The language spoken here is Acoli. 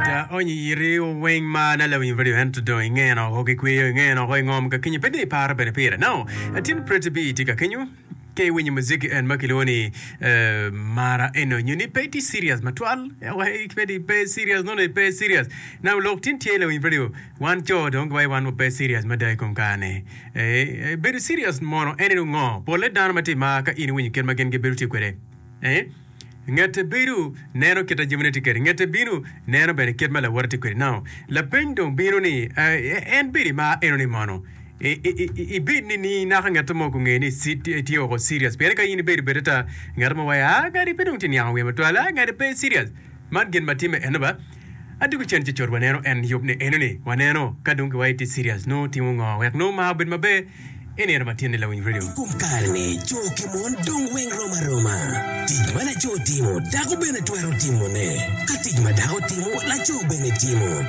Aonyo iri weng ma na lawiny radio ento dong ingeno oko ki kweyo ingeno oko ingom ka kenyo pe dong iparo bene pire. Now, atin Pretty B tye ka kenyo ka iwinyo muziki en ma kilwongo ni eh, mara eno nyo ni pe itye serious matwal pe di pe serious nono pe serious. Now lok tin tye lawiny radio wan co dong giwaco wan wa pe serious mada i kom kare ni. Eh, bedo serious mono en eno ngo? Polle dano ma tye i mar ka in iwinyo kit ma gin gibedo tye kwede. Eh? Ngete bedo neno kit a jamine tye kwede. Ngete bino neno bene kit ma lawote tye kwede. Now, lapeny dong bino ni, en bedo i mar eno ni mono? Ibed ni ni naka ngat mo gunge ni itye woko serious. Pien ka in ibedo bed ata, ngat mo waco, ah, ngati pe dong tye niango wiye matwal, ah, ngati pe serious. Man gin ma timme eno ba. Adwogo cen ci cut waneno en yub ni eno ni waneno ka dong giwaco tye serious nongo timo ngo wek nongo mar obed maber i nino ma tyen ni lawiny radio. I kom kare-ni, co ki mon dong weng rom aroma. Tic ma laco timo, dako bene twero timone. Ka tic ma dako timo, laco bene timo.